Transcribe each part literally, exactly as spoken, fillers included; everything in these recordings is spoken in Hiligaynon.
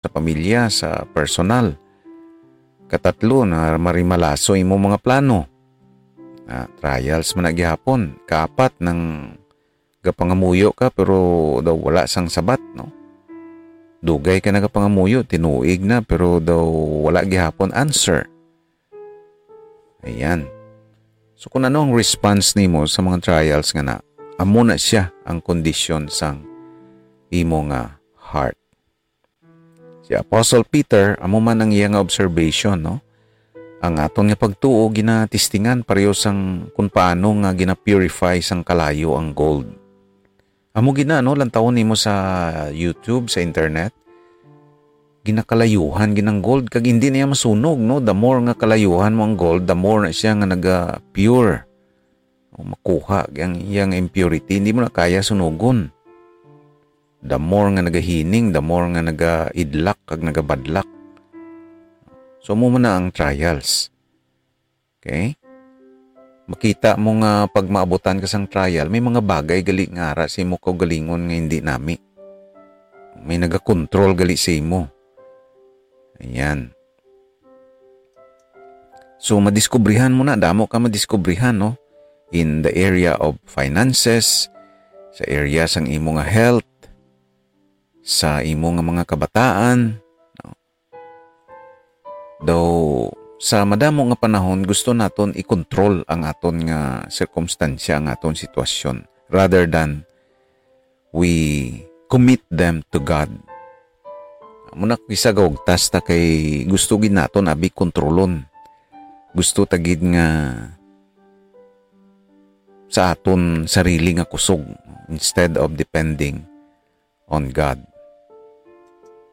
sa pamilya, sa personal. Katatlo, na marimalaso imo mga plano. Ah, trials man na gihapon. Kaapat, nang gapangamuyo ka pero daw wala sang sabat, no? Dugay ka nagapangamuyo, tinuig na, pero daw wala gihapon answer. Ayan. So, kung ano ang response nimo sa mga trials nga na, amo na siya ang kondisyon sang imo nga heart. Si Apostle Peter, amo man ang iya nga observation, no? Ang aton nga pagtuo ginatistingan pareho sang kung paano nga gina-purify sang kalayo ang gold. Amo gina, no, lantawon nimo sa YouTube, sa internet. Ginakalayuhan ginang gold kag hindi na iya masunog, no? The more nga kalayuhan mo ang gold, the more na siya nga naga-pure. O makuha ang iyang impurity, hindi mo na kaya sunugon. The more nga nagahining, the more nga nagaidlak kag nagabadlak. So, amo man na ang trials. Okay? Makita mo nga pag maabutan ka sang trial, may mga bagay gali nga ara sa imo kaugalingon nga hindi nami. May nagakontrol gali sa imo. Ayan. So, madiskubrihan mo na, damo ka madiskubrihan, no? In the area of finances, sa area sang imo nga health, sa imo nga mga kabataan, no? Daw, sa madamo nga panahon, gusto naton i-control ang aton nga sirkumstansya, ang aton sitwasyon, rather than we commit them to God. Amo na, kisa gaugtas ta kay gusto gid naton abi kontrolon. Gusto ta gid nga sa aton sarili nga kusog instead of depending on God.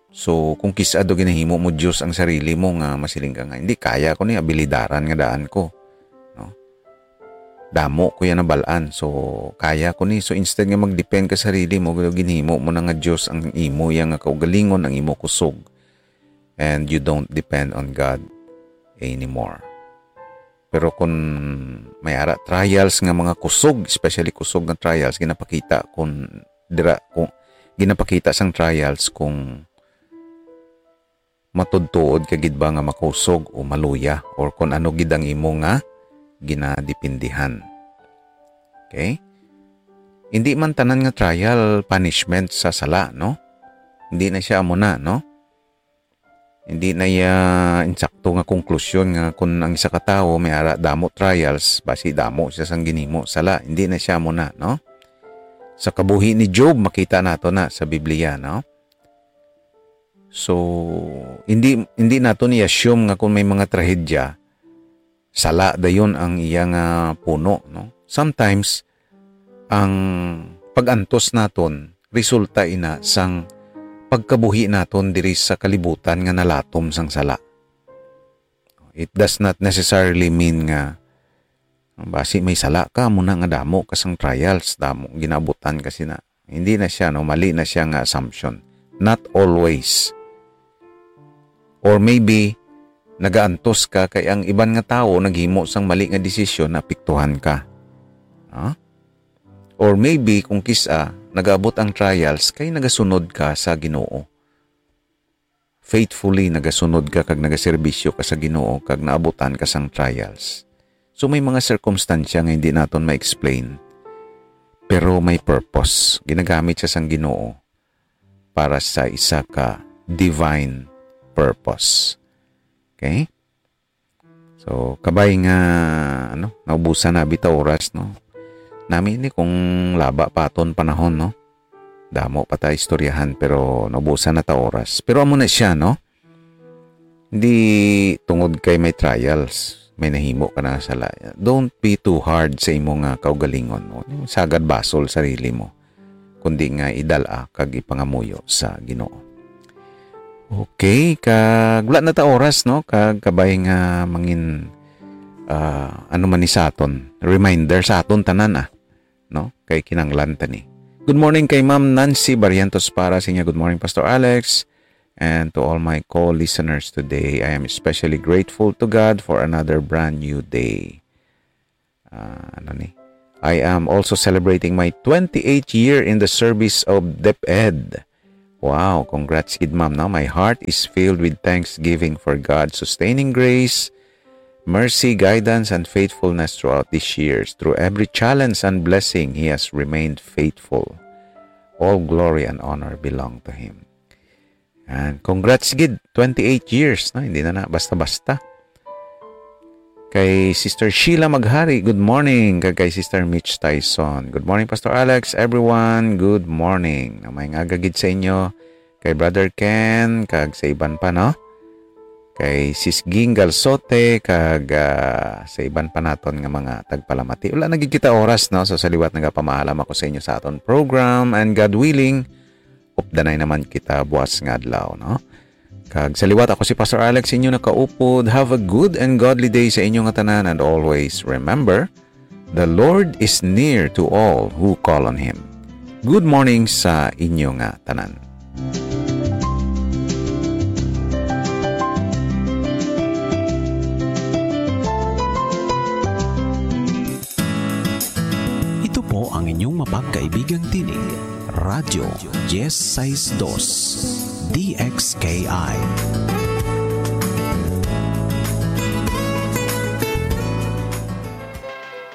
So, kung kis-a do ginahimo mo Dios ang sarili mo nga masiling ka nga, "Hindi, kaya ko ni, abilidaran nga daan ko." No? Damo ko yan nabal-an. So, kaya ko ni. So, instead nga mag-depend ka sa sarili mo, ginhimo mo na nga Dios ang imo, yang nga kaugalingon, ang imo kusog. And you don't depend on God anymore. Pero kung may ara trials nga mga kusog, especially kusog nga trials, ginapakita kung dira, kung ginapakita sang trials kung matudtuod ka gid ba nga makusog o maluya, or kung ano gid ang imo nga ginadipindihan. Okay? Hindi man tanan nga trial punishment sa sala, no? Hindi na siya amo na, no? Hindi na iya insakto nga konklusyon nga kung ang isa ka tawo may ara damo trials, basi damo siya sang ginhimo sala. Hindi na siya amo na, no? Sa kabuhi ni Job, makita nato na sa Biblia, no? So, hindi, hindi nato ni-assume nga kung may mga trahedya, sala dayon ang iya nga puno, no? Sometimes, ang pag-antos naton resulta ina sang pagkabuhi naton diri sa kalibutan nga nalatom sang sala. It does not necessarily mean nga basi may sala ka, amo na nga damo ka sang trials, damo ginabutan ka sina. Hindi na siya, no? Mali na siya nga assumption. Not always. Or maybe, nagaantos ka kay ang iban nga tawo naghimo sang mali nga desisyon, naapektuhan ka. Ha? Or maybe, kung kis-a, nagaabot ang trials kay nagasunod ka sa Ginoo. Faithfully nagasunod ka kag nagaserbisyo ka sa Ginoo kag naabutan ka sang trials. So, may mga sirkumstansya nga hindi naton ma-explain, pero may purpose. Ginagamit siya sang Ginoo para sa isa ka divine purpose. Okay? So, kabay nga, ano, naubusan na bitaw oras, no? Nami ni kung laba pa aton panahon, no? Damo pa ta istoryahan, pero naubusan na ta oras. Pero amo na siya, no? Hindi tungod kay may trials, may nahimo ka na nga sala. Don't be too hard sa imo nga kaugalingon, no? Sagad basol sarili mo, kundi nga idal-a kag ipangamuyo sa Ginoo. Okay, kag wala na ta oras, no? Kag kabay nga mangin, ah, ano man ni sa aton, reminder sa aton tanan, ah, no? Kay kinanglan ta ni. Good morning kay Ma'am Nancy Barrientos Para sa inyo. Good morning, Pastor Alex, and to all my co-listeners today. I am especially grateful to God for another brand new day. Ah, ano ni? I am also celebrating my twenty-eighth year in the service of DepEd. Wow, congrats gid, ma'am, no? My heart is filled with thanksgiving for God's sustaining grace, mercy, guidance, and faithfulness throughout these years. Through every challenge and blessing, He has remained faithful. All glory and honor belong to Him. And congrats gid, twenty-eight years, no? Hindi na na basta-basta. Kay Sister Sheila Maghari, good morning. Kag kay Sister Mitch Tyson, good morning, Pastor Alex. Everyone, good morning. Na may ngaga gid sa inyo, kay Brother Ken, kag sa iban pa, no? Kay Sis Ging Galsote, kag, ah, sa iban pa naton nga mga tagpalamati. Wala na gid kita oras, no? So, sa liwat, nagapamahalam ako sa inyo sa aton program. And God willing, updanay naman kita buwas nga adlaw, no? Kag sa liwat, ako si Pastor Alex, inyo nakaupod. Have a good and godly day sa inyo nga tanan, and always remember, the Lord is near to all who call on Him. Good morning sa inyo nga tanan. Ito po ang inyong mapagkaibigang tinig, Radyo Diez Seis Dos, D X K I.